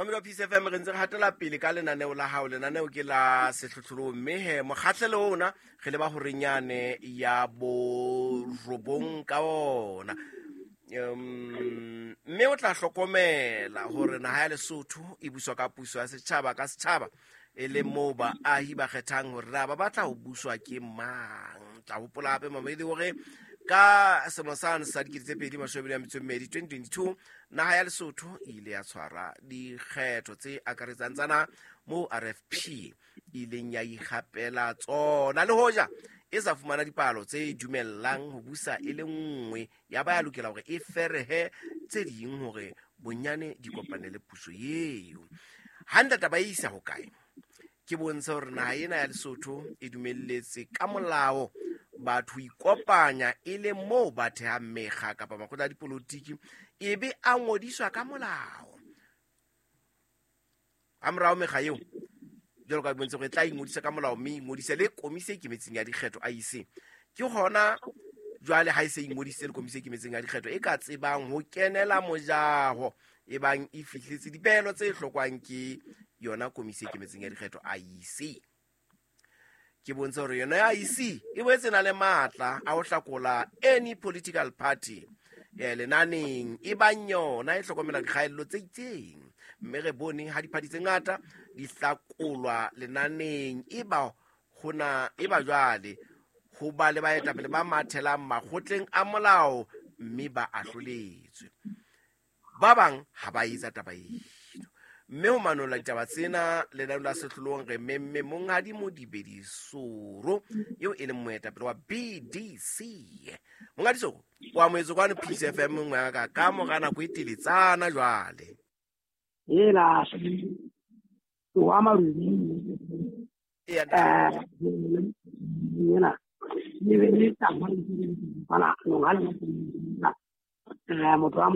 Mamelo Peace FM, re ntse re hatela pele ka lenaneo la hao. Lenaneo ke la sehlohlolong, mme he mokgahlelo ona re leba horenyane ya borobong ka ona. Mme o tla hlokomela hore naha ya Lesotho e buswa ka puso ya setjhaba ka setjhaba, e le moo baahi ba kgethang hore na ba batla ho buswa ke mang. Tla hopola hape, mamedi, hore ka selemo sane sa 2022, 2022, naha ya Lesotho e ile ya tshwara dikgetho tse akaretsang tsa naha, moo RFP e ileng ya ikgapela tsona, le hoja e sa fumana dipalo tse dumellang ho busa e le nngwe, ya ba ya lokela hore e ferehe tse ding hore bonyane di kopanele puso eo. Hantle taba e isa hokae? Ke bontsha hore naha ena ya Lesotho e dumelletse ka molao batho ho ikopanya, e le moo ba thehang mekga kapa makgotla a dipolotiki, e be a ngodiswa ka molao. Ha morao mekga eo, jwalo ka bontshe gore e tla ingodisa ka molao, mme ingodise le komisi e ikemetseng ya dikgetho, IEC. Ke hona jwale ha e se ingodisitse le komisi e ikemetseng ya dikgetho, e ka tsebang ho kenela mojaho e bang e fihletse dipehelo tse hlokwang ke yona komisi e ikemetseng ya dikgetho, IEC. Ke bontsha hore yona ya IEC e boetse na le matla a ho hlakola any political party lenaneng, e bang yona e hlokomela dikgaello tse itseng. Mme re bone ha diphathi tse ngata di hlakolwa lenaneng, e ba hona e ba jwale ho ba le baetapele ba mathelang makgotleng a molao, mme ba ahloletswe. Ba bang ha ba etsa taba eno. Mme ho manolla ditaba tsena lenaneo la sehlolong, re memme monghadi Modibedi Soro, eo e leng moetapele wa BDC. Monghadi Soro, o amohetse kwano Peace FM nngwe ya ka ka mora nako e teletsana jwale. Ela wa marubi. Ena le be le tsamaya bana motho wa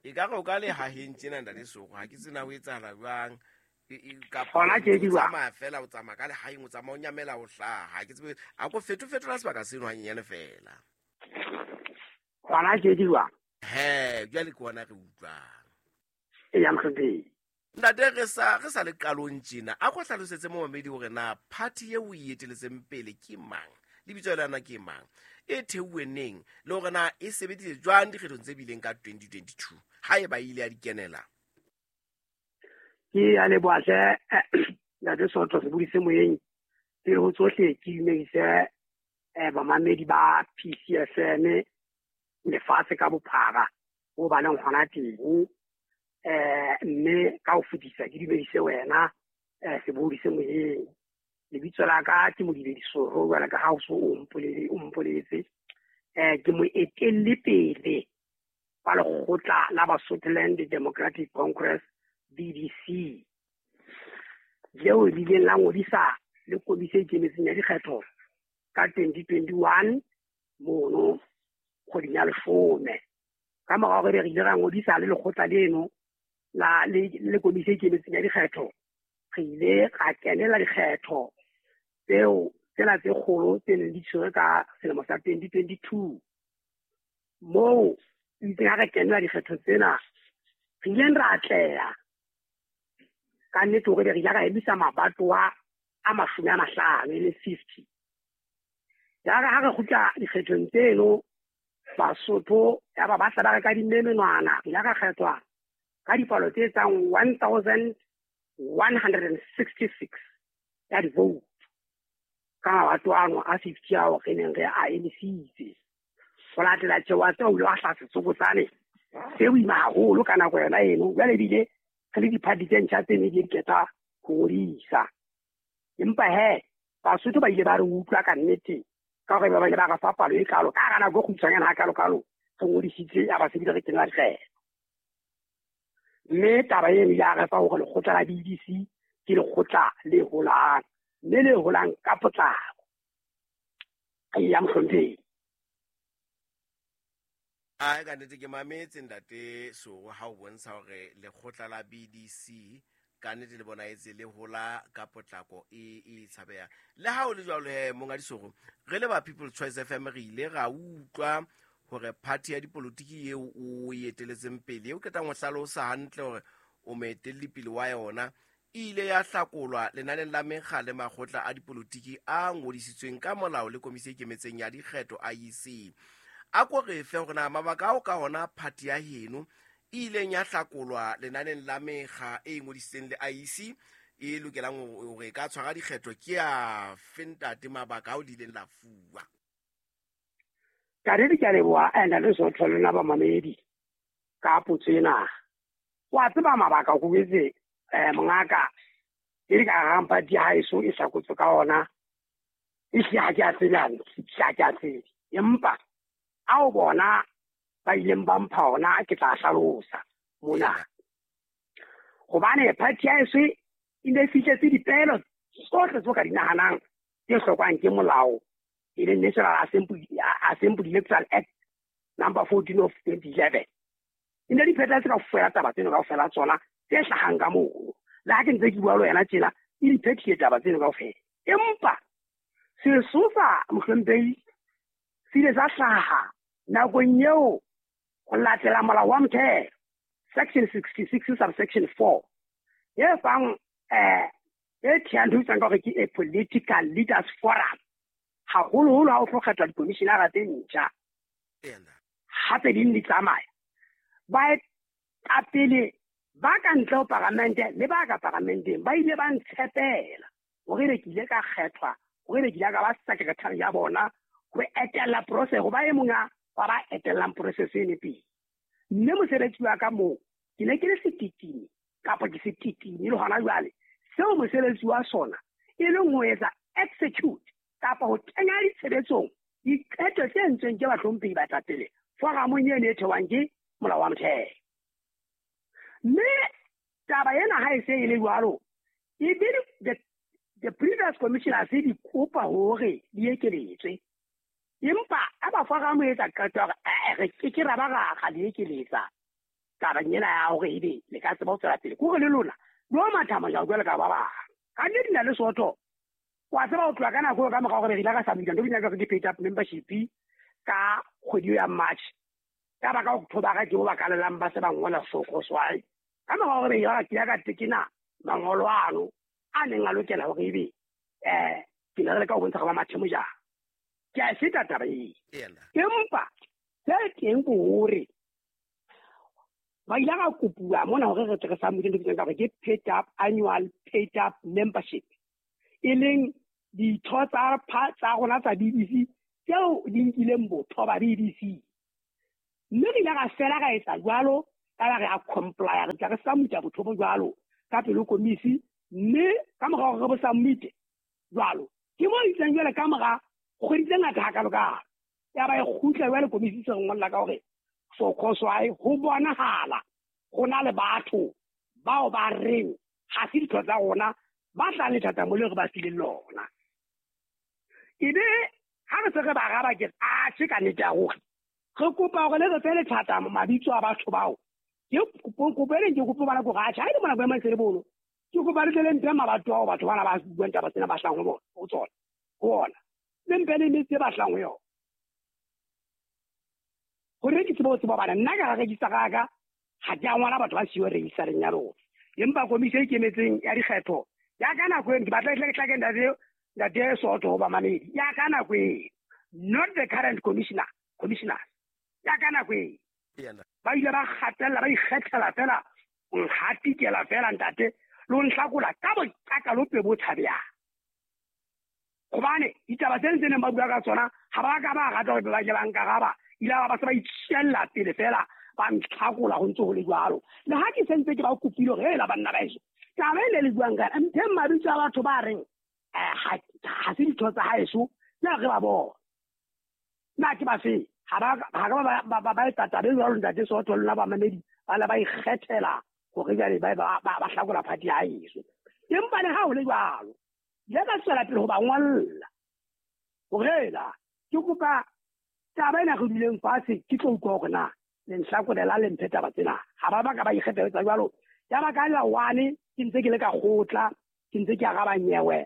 E ka re o ka le haheng tjena, ntate Soko, ha ke tsena ho etsahala jwang. Hona ke di tsamaya fela, o tsamaya ka lehaeng, o tsamaya o nyamela, o hlaha, ha ke tsebe. A ko fetofetola sebaka seno hanyenyane fela. Hona ke di jwang? He, jwale ke ona re utlwang. E ya mohlomphehi. Ntate, re sa le qalong tjena, a ko hlalosetse momamedi hore na party eo o e eteletseng pele ke mang, lebitso la yona ke mang, e theuwe neng, le hore na e sebeditse jwang dikgethong tse bileng ka 2022, ha e ba ile ya di kenela. Ke a leboha hle, ntate Soto, sebodi se moyeng. Pele ho tsohle, ke dumedise bamamedi ba PCFM lefatshe ka bophara ho ba leng hona teng, mme ka ho fetisa ke dumedise wena, sebodi se moyeng. Lebitso la ka ke Modibedi Soro, jwale ka ha o so o mpoletse. Ke moetelli pele wa lekgotla la Basotholand Democratic Congress, BDC, leo le ileng la ngodisa le komisi e ikemetseng ya dikgetho ka 2021 mono kgweding ya 10. Ka mora hore re ile ra ngodisa le lekgotla leno la le komisi e ikemetseng ya dikgetho, re ile ra kenela dikgetho tseo tsena tse kgolo tse neng di tshwerwe ka selemo sa 2022, moo itseng ha re kenela dikgetho tsena re ileng ra atleha ka nnete hore re ile ra emisa mabatowa a 50, e le 50. Yare ha re kgutla dikgethong tseno, Basotho ya ba batla ba re ka dimme menwana. Re ile ra kgethwa ka dipalo tse etsang 1166 ya di-vote ka mabato ano a 50 ao re neng re a emisitse. Ho latela tjewa tseo, o ile wa hlaha setsokotsane se boima haholo ka nako yona eno. Jwale ebile re le diphathi tse ntjha tse ne di qeta ho ngodisa, empa he Basotho ba ile ba re utlwa ka nnete, ka hore ba ile ba re fa palo e kalo ka hara nako e kgutshwanyane ha kalo-kalo re ngodisitse, ya ba sebile re kenela dikgetho. Mme taba eno ya re fa hore lekgotla la BDC ke lekgotla le holang, mme le holang ka potlako. Ya mohlomphehi. Ai, ka nnete ke mametse, ntate Soro, ha o bontsha hore lekgotla la BDC ka nnete le bona etse le hola ka potlako e tshabehang. Le ha o le jwalo he, monghadi Soro, re le ba People's Choice FM re ile ra utlwa. Hore party ya dipolotiki eo o e eteletseng pele eo qetang ho hlalosa hantle hore o moetelli pele wa yona e ile ya hlakolwa lenaneng la mekga le makgotla a dipolotiki a ngodisitsweng ka molao le komisi e ikemetseng ya dikgetho IEC. A ko re fe hore na mabaka ao ka ona party ya heno e ileng ya hlakolwa lenaneng la mekga e ngodisitseng le IEC e lokelang hore e ka tshwara dikgetho ke a fe ntate mabaka ao le ileng la fuwa. Ka re ke a leboha ntate Sotho le lona bamamedi ka potso ena. Wa tseba mabaka ko etse mongaka e le ka rang party ya haeso e hlakotswe ka ona e hlile ha ke a tsebe hantle, ha ke a tsebe. Empa ao bona ba ileng ba mpha ona ke tla hlalosa mona. Hobane party ya haeso e ne fihletse dipeelo tsohle tseo ka di nahanang tse hlokwang ke molao e leng National Assembly Electoral Act number 14 of 2011. E ne di phethahetse kaofela taba tseno kaofela tsona tse hlahang ka mono. Le ha ke ntse ke bua le wena tjena, e di phethile taba tseno kaofela. Empa sesosa mohlomphehi se ile sa hlaha nakong eo ho latela molao wa motheo section 66 subsection 4 e fang e thehang ntho e bitswang ka hore ke a political leaders forum, haholoholo ha o tlo kgethwa dikomishinara tse ntjha. Ha tse ding di tsamaya, baetapele ba ka ntle ho paramente le ba ka paramenteng ba ile ba ntshepela hore ebe ke ile ka kgethwa, hore ebe ke ile ka ba secretary ya bona ho etella process, ho ba e mong wa ba etellang process ene pele. Mme mosebetsi wa ka moo ke ne ke le setitimi kapa ke setitimi le hona jwale, seo mosebetsi wa sona e leng ho etsa execute kapa ho kenya ditshebetsong diqeto tse entsweng ke bahlomphehi baetapele foramong eno e thewang ke molao wa motheo. Mme taba ena ha e se e le jwalo, e be the previous commissioners di kopa hore di ekeletswe. Empa ha ba foramo e etsa qeto ya hore re ke ke ra ba ra di ekeletsa tabeng ena ya hore ebe le ka tseba ho tswela pele, ke hore le lona lo matha mojao jwalo ka ba bang. Ka nnete na le Sotho, wa tseba ho tloha ka nako eo ka mora hore re ile ra submit ntho e bitswang ka hore ke paid up membership ka kgwedi ya March. Ka baka October ke bo ba kalelang ba se ba ngola sokoswai. Ka mora hore re ile ra kila ka tekena mangolo ano a neng a lokela hore ebe ke ne re leka ho bontsha hore ba mathe mojao. Ke a e feta taba eo. Empa se teng ke hore ba ile ra kopuwa mona hore re tle re submit ntho e bitswang ka hore ke paid up annual paid up membership, e leng ditho tsa rona tsa BBC tseo di nkileng botho ba BBC. Mme re ile ra fela ra etsa jwalo, ka ba re a comply, re tla re submit botho bo jwalo ka pele ho komisi, mme ka mora hore re bo submit jwalo, ke mo itseng jwale ka mora kgwedi tse ngata hakalo-kalo, ya ba e kgutla jwale komisi se re ngolla ka hore sokoswae ho bonahala ho na le batho bao ba reng ha se ditho tsa rona ba tlang lethathamo leo re ba fileng lona. Ebe ha re se re ba araba ke re, atjhe ka nnete ya ruri, re kopa hore le re fe lethathamo mabitso a batho bao. Ke kopo e leng ke kopo bana ke hore atjhe, ha e le mona boemong se le bono, ke kopa le tle le mphe mabato ao batho bana ba buang taba tsena ba hlahang ho bona, ho tsona, ho ona. Le mphe le metse e ba hlahang ho yona. Hore ke tsebe ho tseba hobane nna ka ra register ka ka, ha ke a ngola batho ba siyo registereng ya lona. Empa komisi e ikemetseng ya dikgetho ya ka nako eno, ke batla ke tle ke ntate Sotho ho bamamedi, ya ka nako eno, not the current commissioners, ya ka nako eno. Ba ile ba kgatella, ba ikgethela fela, ho nhatikela fela ntate, le ho nhlakola ka boqakalope bo tshabehang. Hobane ditaba tsena tse neng ba bua ka tsona, ha ba ka ba rata hore ba ke ba nkaraba, ile ba se ba itjella pele fela, ba ntlhakola ho ntse ho le jwalo. Le ha ke sentse ke ba kopile hore hela banna ba heso, taba e le le buang ka yona, mpheng mabitso a batho ba reng, ha se ditho tsa haeso, na re ba bona. Na ke ba fe? Ha ba ka ba etsa taba e jwalo ntate Sotho le lona bamamedi, ba le ba ikgethela hore jwale ba hlakola party ya haeso. Empa le ha ho le jwalo, ile ka tswela pele ho ba ngolla hore hela ke kopa taba ena re duleng fatshe, ke tlo utlwa hore na le nhlakolela le mphe taba tsena. Ha ba ba ka ba ikgetha jwalo. Ya ba ka la one, ke ntse ke le ka kgotla, ke ntse ke araba nyewe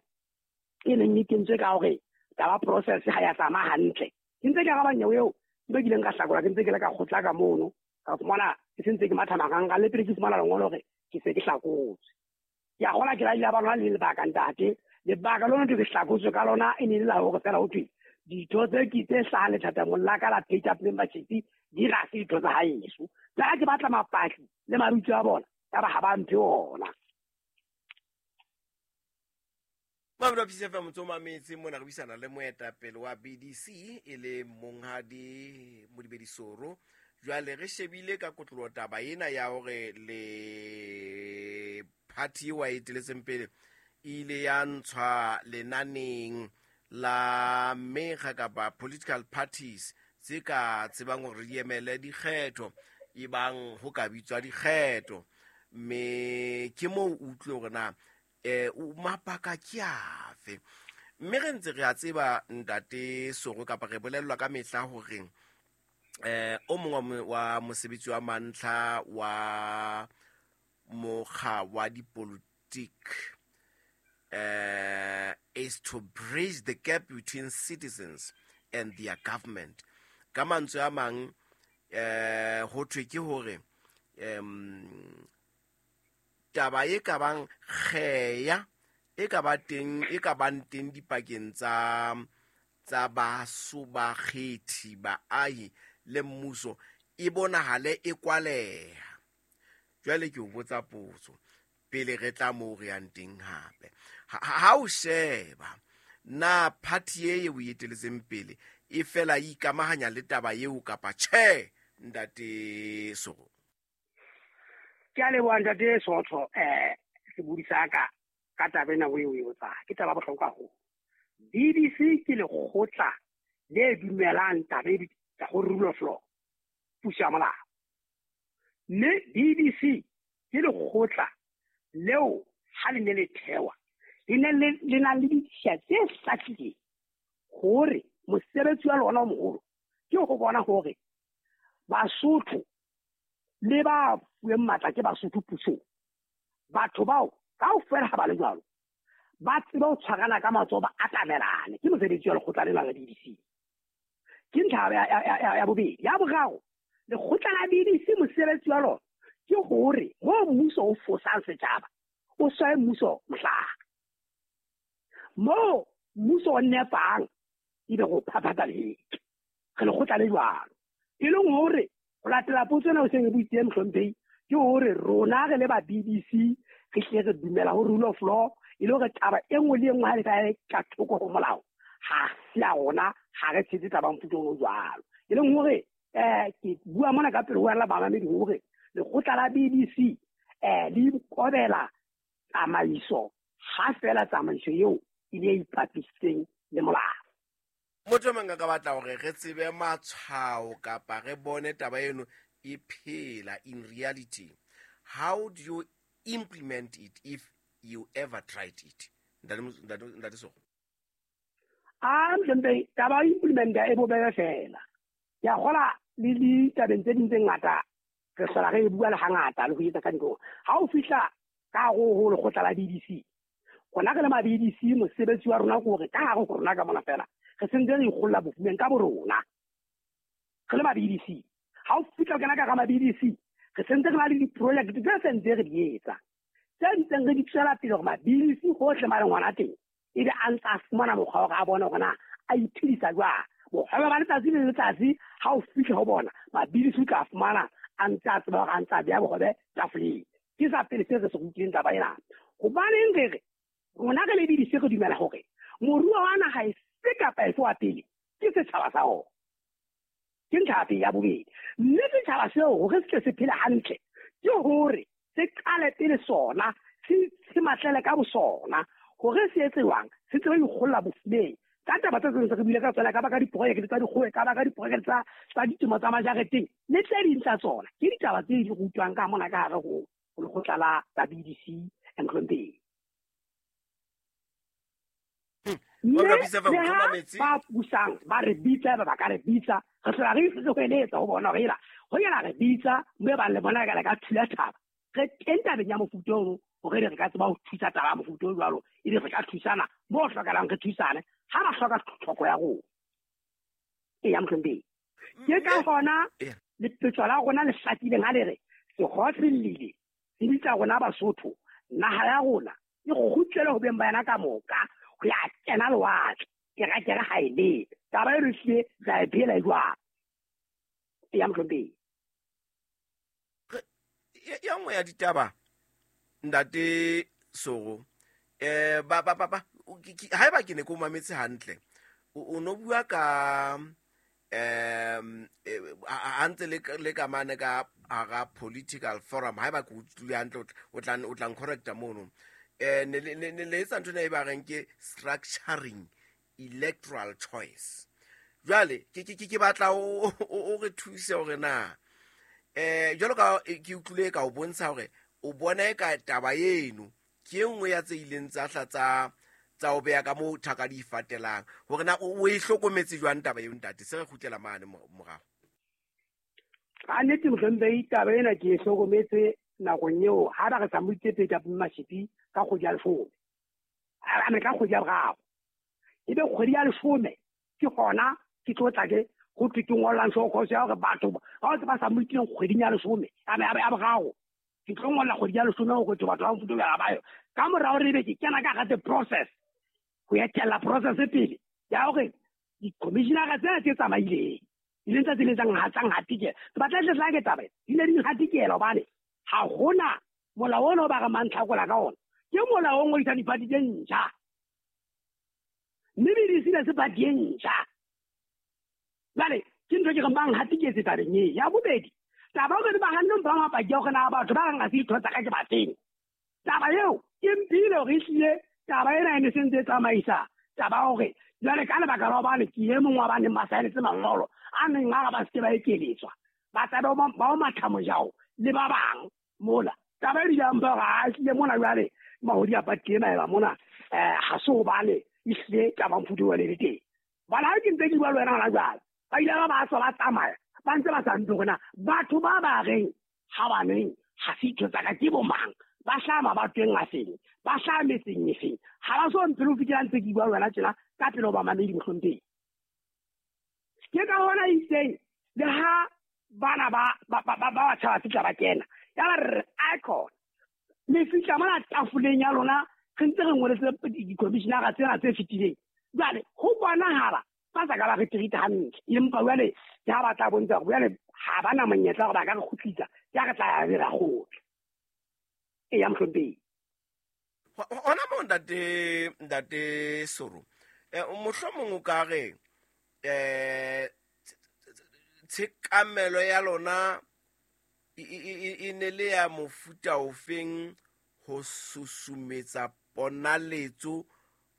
e neng e kentswe ka hore taba process ha ya tsamaya hantle. Ke ntse ke araba nyewe eo, Ke be ke ileng ka hlakola ke ntse ke le ka kgotla ka mono, ka fumana ke sentse ke matha marangrang le pele ke fumana lengolo hore ke se ke hlakotswe. Ke a kgola ke la ile ba lona le lebaka ntate. Lebaka lona ke hlakotswe ka lona e ne le la hore fela ho thwe ditho tse ke tse hlahang lethathamong la ka la paid up membership di ga se ditho tsa haeso. Tsa ke batla mapatli le mabitso a bona, ya ba ha ba mphe ona. Mamelo wa PCFM motse o mametse mona re buisana le moetapele wa BDC e le monghadi Modibedi Soro. Jwale re shebile ka kotloloho taba ena ya hore le party eo a eteletseng pele e ile ya ntshwa lenaneng la mekga kapa political parties tse ka tsebang hore di emele dikgetho e bang ho ka bitswa dikgetho, mme ke moo o utlwe hore na mabaka ke afe. Mme re ntse re a tseba ntate Soro kapa re bolellwa ka mehla hore o mongwe wa mosebetsi wa mantlha wa mokga wa dipolitiki is to bridge the gap between citizens and their government. Ka mantswe a mang ho thwe ke hore taba e ka bang kgeya e ka ba teng e ka bang teng dipakeng tsa baso bakgethi baahi le mmuso e bonahale e kwaleha. Jwale ke o botsa potso pele re tla moo re yang teng hape. Ha o sheba na party e o eteletseng pele e fela e ikamahanya le taba eo kapa tjhe, ntate Soro? Ke a leboha ntate Sotho, sebodi sa ka ka taba ena o e botsa ke taba bohlokwa haholo. BBC ke lekgotla le dumelang taba e ya go rule of law, puso ya molao. Mme BBC ke lekgotla leo ha le ne le thewa le ne le na le ditshiya tse hlakileng hore mosebetsi wa lona o moholo ke ho bona hore Basotho le ba fuweng matla ke Basotho pusong, batho bao kaofela ha ba le jwalo ba tsebe ho tshwarana ka matsoho ba atamelane. Ke mosebetsi wa lekgotla lena la BBC. Ke ntlha ya bobedi. Ya boraro, lekgotla la BBC mosebetsi wa lona ke hore moo mmuso o fosang setjhaba o swaye mmuso mohlala, moo mmuso o nepang ebe go phaphatsa lehetle. Re lekgotla le jwalo, e leng hore ho latela potso ena o seng e buitseng mohlomphehi ke hore rona re le ba BBC re hle re dumela ho rule of law, e le hore taba e nngwe le e nngwe ha le ka ka thoko ho molao ha se ya rona, ha re tshetse taba mofuta o jwalo. E leng hore ke bua mona ka pele ho wena bamamedi hore lekgotla la BBC le ikobela tsamaiso ha fela tsamaiso eo e le e ipapisitseng le molao. Motho mang a ka batla hore re tsebe matshwao kapa re bone taba eno e phela in reality, how do you implement it if you ever tried it? Ntate Soro. A mhlempe taba implementa e bobebe fela. Ke a kgola le ditabeng tse ding tse ngata re hlola re e bua le hangata le ho etsa ka ntho. Ha o fihla ka hare ho lekgotla la BBC, rona re le ma BBC mosebetsi wa rona ke hore ka hare ho rona ka mona fela re sentse re ikgolla bofumeng ka borona. Re le ma BBC, ha o fihla o kena ka hara ma BBC, re sentse re na le di-project tse sentse re di etsa, tse ntseng re di tswela pele hore ma BBC hohle ma leng hona teng ebe a ntse a fumana mokgwa wa hore a bone hore na a iphedisa jwang. Bokgwebo ba letsatsi le letsatsi ha o fihla ho bona ma BBC o tla fumana a ntse a tseba hore a ntse a beha bohobe tafoleng. Ke sa pele se re se rutileng taba ena. Hobaneng re re rona re le BBC re dumela hore moruo wa naha efe kapa efe wa pele ke setjhaba sa ona. Ke ntlha ya pele. Ya bobedi, mme setjhaba seo hore se tle se phele hantle ke hore se qale pele sona se matlele ka bosona hore se etse jwang, se tsebe ho ikgolla bofumeng. Ka taba tse tseng re buile ka tsona, ka ba ka diprojekte tsa dikgoho, ka ba ka diprojekte tsa ditemo tsa majareteng le tse ding tsa tsona. Ke ditaba tse di rutwang ka mona ka hare ho lekgotla la BBC Mhlomphehi. Mme le ha ba busang ba re bitsa, ba ka re bitsa, re hlola re re hweletsa ho bona hore ela ho yela re bitsa mme ba le bona ka thula thaba. Re teng tabeng ya mofuta ono hore re ka tseba ho thusa taba ya mofuta o jwalo, ebe re ka thusana mo hlokahalang re thusane ha ba hloka tlhoko ya rona. E ya Mhlomphehi. Ke ka hona lepetso la rona le hlakileng ha le re sekgowa se llile se bitsa rona Basotho, naha ya rona e kgutlele ho beng ba yona ka moka ho ya kena lewatle. Kerakere ha e lebe. Taba e re hlile re a e phela e jwang. Ya mohlomphehi. Ya nngwe ya ditaba ntate Soro, ba ba ba haeba ke ne ke o mametse hantle, o no bua ka ha ntse le ka mane ka hara political forum, haeba ke utlwile hantle, o tla ncorrecta mono. Ne le etsa ntho ena e ba reng ke structuring electoral choice. Jwale ke batla o re thuse hore na jwalo ka ke utlwile ka o bontsha hore o bona e ka taba eno ke e nngwe ya tse ileng tsa hla tsa o beha ka moo thaka di fatelang, hore na o e hlokometse jwang taba eo ntate, se re kgutlela mane morao. Ka nnete mohlomphehi, taba ena ke e hlokometse nakong eo ha ba re sa moitse pele ka Mashipi ka kgwedi ya leshome, a me ka kgwedi ya boraro, ebe kgwedi ya leshome ke hona ke tlo tla ke ho thwe ke ngollang show cause ya hore batho ba ba ba sa moitileng kgweding ya leshome ya boraro, ke tlo ngolla kgwedi ya leshome hore batho ba mofuta o ba yo. Ka mora hore ebe ke kena ka hara the process, ho etella process pele ya hore di-commissionera tsena tse tsamaileng di leng tsa tse leng tsa nhatikela. Ke batla tle tla ke taba e, di ne di nhatikela hobane ha hona molao ona o ba re mantlhakola ka ona, ke molao o ngodisang diphathi tse ntjha, mme BDC ne se party e ntjha. Jwale ke ntho ke reng ba nhatiketse tabeng e. Ya bobedi, taba hore ba hanne ba mapaki ya hore na batho ba reng ha se ditho tsa ka ke bafeng. Taba eo e mphile hore ehlile taba ena e ne se ntse e tsamaisa taba hore jwale ka lebaka la hobane ke e mong wa ba neng ba saenetse mangolo a neng a re ba seke ba ekeletswa, ba tlabe ba o matha mojao le ba bang mola. Taba e bile mpha hore a ehlile mona jwale mahodi a party ena eba mona, ha se hobane ehlile taba mofuta o le teng. Bana ha ke ntse ke bua le wena hona jwale, ba ile ba ba tswa ba tsamaya ba ntse ba sa ntse hore na batho ba ba reng ha baneng ha se ditho tsa ka ke bo mang, ba hlaha mabatoweng a feng, ba hlaha metseng e feng. Ha ba so mpele ho fihlela ntse ke bua le wena tjena ka pele ho bamamedi mohlomphehi. Ke ka hona itseng le ha bana ba batjha ba fihla ba kena, ya ba re icon le fihla mona tafoleng ya lona, re ntse re ngoletse di-commissionera tsena tse fetileng. Jwale ho bonahala ba sa ka ba re treat hantle, empa jwale ke ha ba tla bontsha hore jwale ha ba na monyetla hore ba ka re kgutlisa, ya re tla ya re ra kgutla. E ya mohlomphehi. Hona moo ntate Soro, mohlomong o ka re tshekamelo ya lona e ne le ya mofuta ofeng ho susumetsa ponaletso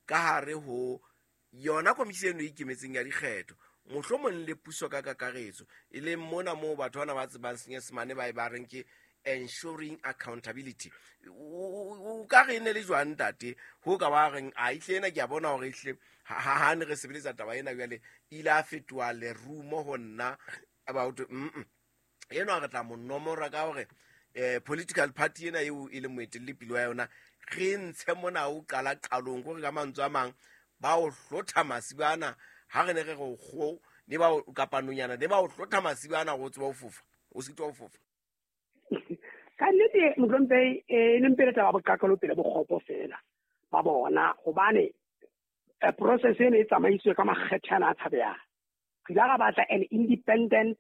ka hare ho yona komisi eno e ikemetseng ya dikgetho, mohlomong le puso ka kakaretso, e leng mona moo batho bana ba tsebang Senyesemane ba e ba reng ke ensuring accountability. O ka re ne le jwang ntate ho ka ba reng a ihle ena ke a bona hore ehle ha ne re sebeletsa taba ena jwale ile a fetoha lerumo ho nna about eno re tla mo nomora ka hore political party ena eo e leng moetelli pele wa yona re ntshe mona o qala qalong hore ka mantswe a mang ba o hlotha masibana ha re ne re re kgo ne ba o kapa nonyana ne ba o hlotha masibana go tseba ho fofa o sitwa ho fofa. Ka nnete mohlomphehi, e ne mpele taba boqaqelo pele bokgopo fela ba bona, hobane process ena e tsamaiswe ka makgethe ana a tshabehang. Re ile ra batla an independent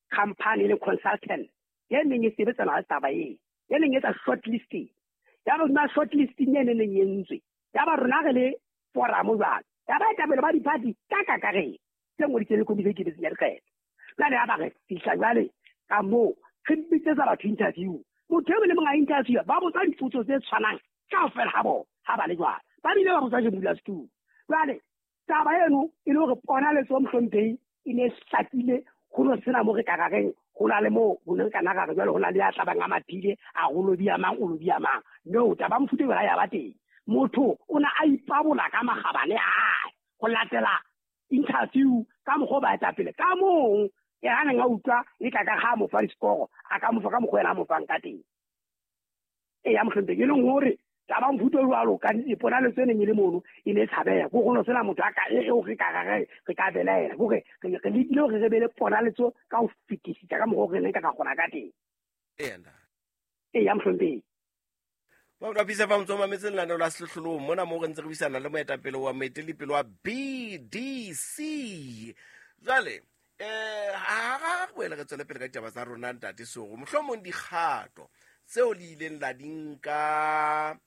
company le consultant e neng e sebetsana le taba e neng e etsa shortlisting. Ya ba hodima shortlisting e neng e entswe, ya ba rona re le forum jwalo, ya ba etapele ba di-party ka kakaretso tse ngodisitsweng le komisi e ikemetseng ya dikgetho. Jwale ya ba re fihla jwale ka moo re bitsetsa batho interview, motho e mong le mong a interview, ba botsa dipotso tse tshwanang kaofela ha bona ha ba le jwalo, ba bile ba botsa ke modulasetulo. Jwale taba eno e le hore ponaletso mohlomphehi e ne e hlakile, ho no sena mo re ka ra reng ho na le moo ho ne re ka na ra re jwale ho na le ya tlabang a mathile a go lobia mang o lobia mang. No, taba mofuta eo ha ya ba teng. Motho o ne a ipabola ka makgabane a hae ho latela interview ka mokgwa o baetapele ka mong e ha neng a utlwa e ka ka ha mo fa diskoro, a ka mo fa ka mokgwa ena a mo fang ka teng. E ya mohlomphehi, e leng hore Taba mofuta o jwalo ka ponaletso e neng e le mono e ne e tshabeha, ko go no sena motho a ka eo re ka re ka belaela, kore re lekile hore re be le ponaletso ka ho fetisisa ka mokgwa o re neng ka ka kgona ka teng. Eya mohlomphehi. Ba pisa fa motso mametse lenaneo la Sehlohlolong mona moo re ntse re buisana le moetapele wa moeteledipele wa BDC. Jwale ha re boele re tswele pele ka ditaba tsa rona ntate Soro, mohlomong dikgato tseo le ileng la di nka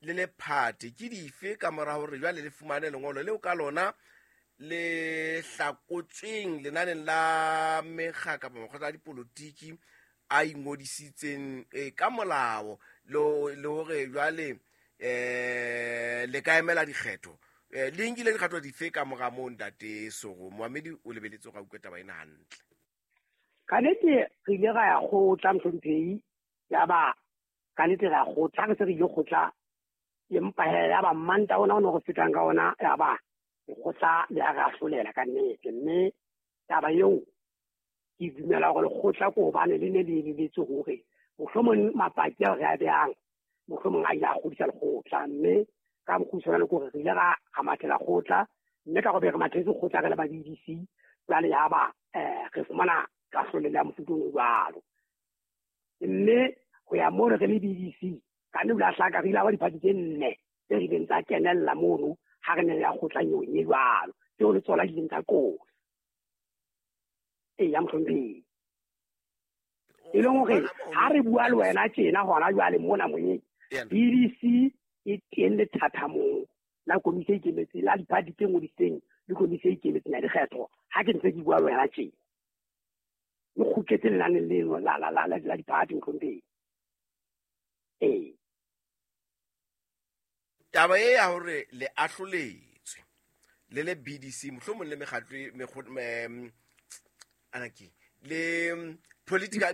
le le phate ke dife ka mora hore jwale le fumane lengolo leo ka lona le hlakotsweng lenaneng la mekga kapa makgotla a dipolotiki a ingodisitseng ka molao le hore jwale le ka emela dikgetho, le nkile dikgato dife ka mora moo ntate Soro? Moamedi o lebeletse hore a utlwe taba ena hantle. Ka nnete re ile ra ya kgotla mohlomphehi, ya ba ka nnete re ya kgotla, re se re ile kgotla, empa he ya ba mmanta ona o ne re fetang ka ona, ya ba lekgotla le a re ahlolela ka nnete. Mme taba eo ke dumela hore lekgotla ke hobane le ne le eleletswe hore mohlomong mapaki ao re a behang mohlomong a ile a kgodisa lekgotla, mme ka mokgutshwane le kore re ile ra mathela kgotla, mme ka gore re mathetse kgotla re le ba BDC, jwale ya ba re fumana kahlolelo ya mofuta ono jwalo. Mme ho ya mono re le BDC ka nne la hlaka re ile ba diphathi tse nne tse rileng tsa kenella mono ha re ne ya kgotla nyong e jwalo, tseo le tsona di ileng tsa qosa. Eya mohlomphehi, e leng hore ha re bua le wena tjena hona jwale mona moyeng, BDC e teng lethathamong la komisi e ikemetseng la diphathi tse ngodisitseng le komisi e ikemetseng ya dikgetho. Ha ke ntse ke bua le wena tjena, le kgutletse lenaneng leno la diphathi mohlomphehi. Ee. Taba e ya hore le ahloletswe le le BDC mohlomong le mekgatlo anaki le political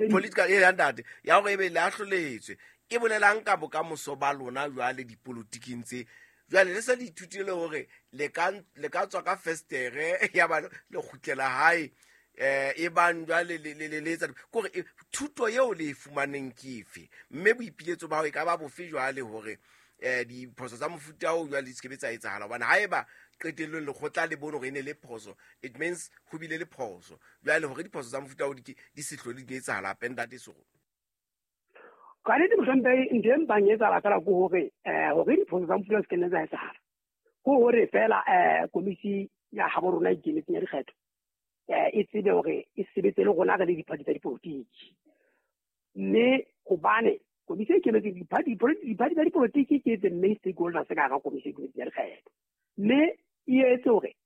political e ntate ya hore ebe le ahloletswe e bolelang ka bokamoso ba lona jwale dipolotiking tse jwale le se le ithutile hore le ka tswa ka festere ya ba le kgutlela hae e bang jwale le etsa kore thuto eo le e fumaneng ke efe, mme boipiletso ba hao e ka ba bofe jwale hore diphoso tsa mofuta oo jwale di se ke tsa etsahala? Hobane haeba qetellong lekgotla le bone hore e ne le phoso, it means ho bile le phoso. Jwale hore diphoso tsa mofuta oo di se hlole di etsahala hape ntate Soro. Ka nnete mohlomphehi, ntho e mpang etsahala fela ke hore hore diphoso tsa mofuta o se ke nne tsa etsahala, ke hore fela komisi ya habo rona e ikemetseng ya dikgetho e tsebe hore e sebetse le rona re le diphathi tsa dipolotiki. Mme hobane komisi e ikemetseng diphathi tsa dipolotiki ke the main stakeholders ka hara komisi e ikemetseng ya dikgetho, mme e etse hore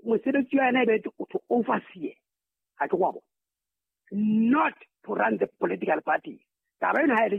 mosebetsi wa yona e be to oversee, ha ke go bona, not to run the political party. Taba ena ha e le